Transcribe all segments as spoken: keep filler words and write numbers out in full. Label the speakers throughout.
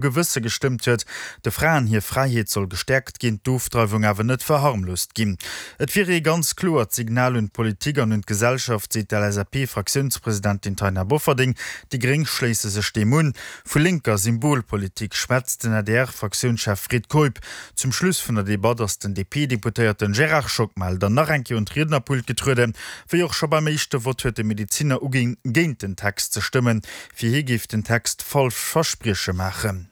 Speaker 1: Gewësse gestëmmt huet. De Fraen hir Fräiheet soll gestäerkt ginn, d'Ofdreiwung awer net verharmloost ginn. Et wier ee ganz kloert Signal un d'Politik an un d'Gesellschaft, seet d'LSAP-Fraktiounspresidentin Taina Bofferding. Déi Gréng schléisse sech deem un. Vu lénker Symbolpolitik schwätzt den A D R-Fraktiounschef Fred Keup. Zum Schluss vun der Debatt ass den D P-Deputéierten Gérard Schockmel dann nach eng Kéier un d'Riednerpult getrueden. Wéi och scho beim éischte Vott huet de Medeziner uginn, géint den Text ze stëmmen. Fir hie géif den Text falsch Versprieche maachen.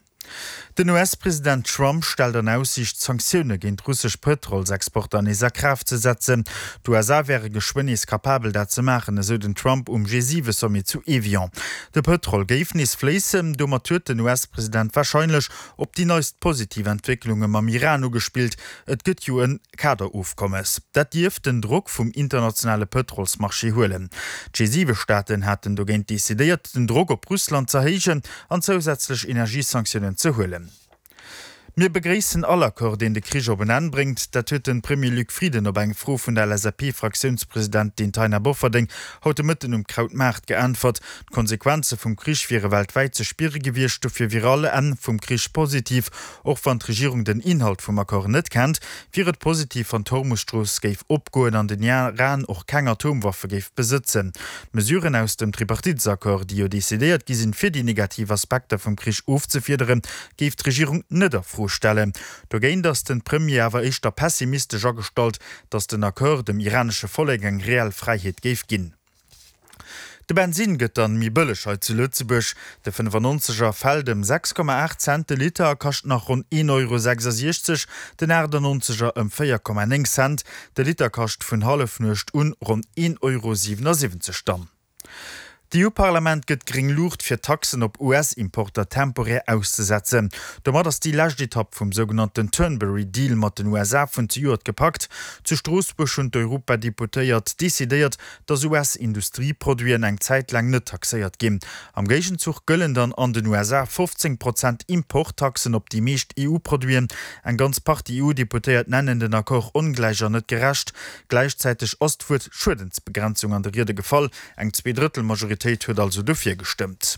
Speaker 1: Den U S-President Trump stellt an Aussiicht, Sanktioune géint russesch Pëtrolsexporter nees a Kraaft ze setzen. D'U S A wäre geschwënn nees kapabel dat ze maachen, esou den Trump um G siwe Sommet zu Evian. De Pëtrol géif nees fléissen. Domat huet den U S-President warscheinlech op déi neist positiv Entwécklunge mam Iran ugespillt. Et gëtt jo e Kaderofkommes. Dat dierft den Drock vum internationale Pëtrolsmarché huelen. D'G siwe Staaten haten dogéint decidéiert, den Drock op Russland ze erhéijen an zousätzlech Energiesanktiounen ze huelen. Mir begréissen all Accord, deen de Krich op en Enn bréngt, dat huet de Premier Luc Frieden op eng Fro vun der L S A P-Fraktiounspresidentin Taina Bofferding haut de Mëtten um Krautmaart geäntwert. D'Konsequenze vum Krich wiere weltwäit ze spiere gewiescht, dofir wier all Enn vum Krich positiv. Och wann d'Regierung den Inhalt vum Accord net kennt, wier et positiv, wann d'Hormus-Strooss géif opgoen an den Iran och keng Atomwaffe géif besëtzen. D'Mesuren aus dem Tripartitesaccord, déi jo decidéiert gi sinn, fir déi negativ Aspekter vum Krich ofzefiederen, géif d'Regierung net a Fro stellen. Dogéint ass de Premier awer éischter pessimistesch agestallt, datt den Accord dem iranesche Vollek eng reell Fräiheet géif ginn. De Bensinn gëtt dann méi bëlleg hei zu Lëtzebuerg. De fënnefannonzeger fält ëm sechs Komma aacht Cent de Liter a kascht nach ronn een Euro sechsasechzeg, den aachtannonzeger ëm véier Komma néng Cent. De Liter kascht vun Hallefnuecht un ronn een Euro siwenasiwwenzeg dann. D'E U-Parlament gëtt gréng Luucht fir Taxen op U S-Importer temporär auszesetzen. Domat ass déi lescht Etapp vum sougenannten Turnberry Deal mat den U S A vun zejoert gepackt. Zu Stroossbuerg hunn d'Europadeputéiert decidéiert, datt U S-Industrieproduiten eng Zäit laang net taxéiert ginn. Am Géigenzuch gëllen dann an den U S A fofzéng Prozent Importtaxen op déi meescht E U-Produiten. Eng ganz Partie E U-Deputéiert nennen den Accord ongläich an net gerecht. Gläichzäiteg ass d'Wuert Schuedensbegrenzung an de Riede gefall. Eng Zweedrëttelmajoritéit huet also dofir gestëmmt.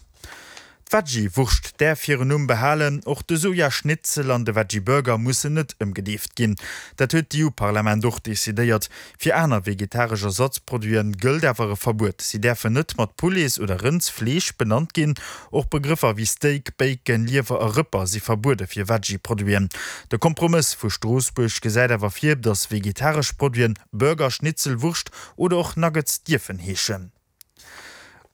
Speaker 1: D'Veggie-Wurscht däerf hiren Numm behalen, och de Sojaschnitzel an de Veggie-Burger mussen net ëmgedeeft ginn. Dat huet d'E U-Parlament och decidéiert. Fir aner vegetaresch Ersatzproduite gëllt awer e Verbuet. Si däerfen net mat Poulets oder Rëndsfleesch benannt ginn. Och Begrëffer wéi Steak, Bacon, Liewer a Rëpper si verbuede fir Veggie-Produiten. De Kompromëss vu Stroossbuerg gesäit awer vir, datt vegetaresch Produiten Burger, Schnitzel, Wurscht oder och Nuggets dierfen heeschen.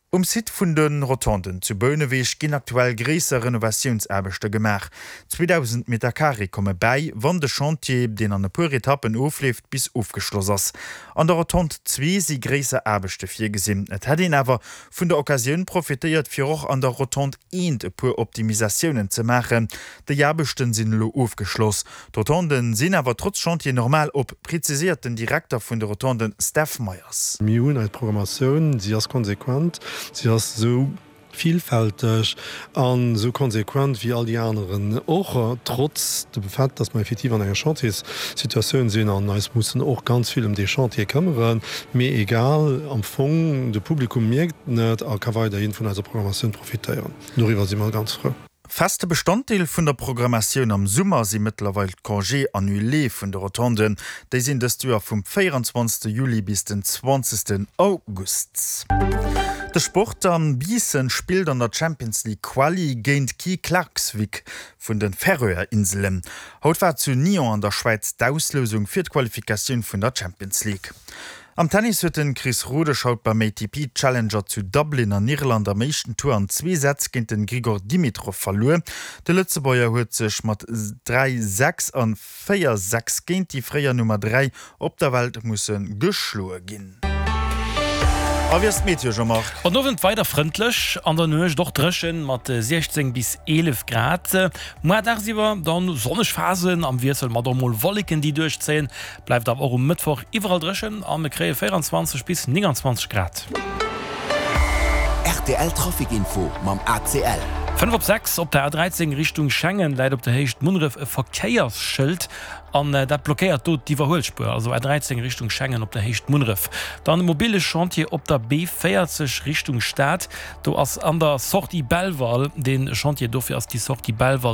Speaker 1: Um Site vun de Rotonden zu Bouneweg ginn aktuell gréisser Renovatiounsaarbechte gemaach. zweedausend Meter Carré komme bäi, wann de Chantier, deen an e puer Etappen ofleeft, bis ofgeschloss ass. An der Rotonde zwee si gréisser Aarbechte virgesinn. Et hätt een awer vun der Occasioun profitéiert, fir och an der Rotonde eent e puer Optimisatiounen ze maachen. Déi Aarbechten sinn elo ofgeschloss. D'Rotonden sinn awer trotz Chantier normal op, preziséiert den Direkter vun de Rotonden Steph Meyers.
Speaker 2: Mir hunn eng Programmatioun, si ass konsequent, si ass sou villfälteg an sou konsequent wéi all déi aneren och, trotz dem Fait, dass mer effektiv an enger Chantierssituatioun sinn an eis mussen och ganz vill ëm dee Chantier këmmeren. Mee egal, am Fong, de Publikum mierkt net a ka weiderhi vun eiser Programmatioun profitéieren. Doriwwer si mer ganz frou.
Speaker 1: Feste Bestanddeel vun der Programmatioun am Summer si mëttlerweil d'Congés annulés vun de Rotonden. Déi sinn dëst Joer vum véierundzwanzegste Juli bis den zwanzegsten August. De Sport dann, Biissen spillt an der Champions League Quali géint K I Klaksvik vun de Färöer Inselen. Haut war zu Nyon an der Schwäiz d'Auslousung fir d'Qualifikatioun vun der Champions League. Am Tennis huet de Chris Rodesch haut beim A T P Challenger zu Dublin an Irland am éischten Tour an zwee Sätz géint de Grigor Dimitrov verluer. De Lëtzebuerger huet sech mat dräi sechs an véier sechs géint déi fréier Nummer dräi op der Welt musse geschloe ginn. A wéi ass d'Meteo, Jean-Marc?
Speaker 3: Den Owend weider frëndlech, an der Nuecht och dréchen mat siechzéng bis eelef Grad. Muer dagsiwwer dann sonneg Phasen am Wiessel mat och mol Wolleken déi duerchzéien. Bleift awer och um Mëttwoch iwwerall dréchen a mir kréie véieranzwanzeg bis nénganzwanzeg Grad.
Speaker 4: R T L Trafic Info mam A C L.
Speaker 3: Fënnef op sechs op der A dräizéng Richtung Schengen läit op der Héicht Munneref e Verkéiersschëld an dat blockéiert do d'Iwwerhuelspuer. Also A dräizéng Richtung Schengen op der Héicht Munneref. Dann e mobile Chantier op der B véierzeg Richtung Stad. Do ass an der Sortie Belval de Chantier, dofir ass déi Sortie Belval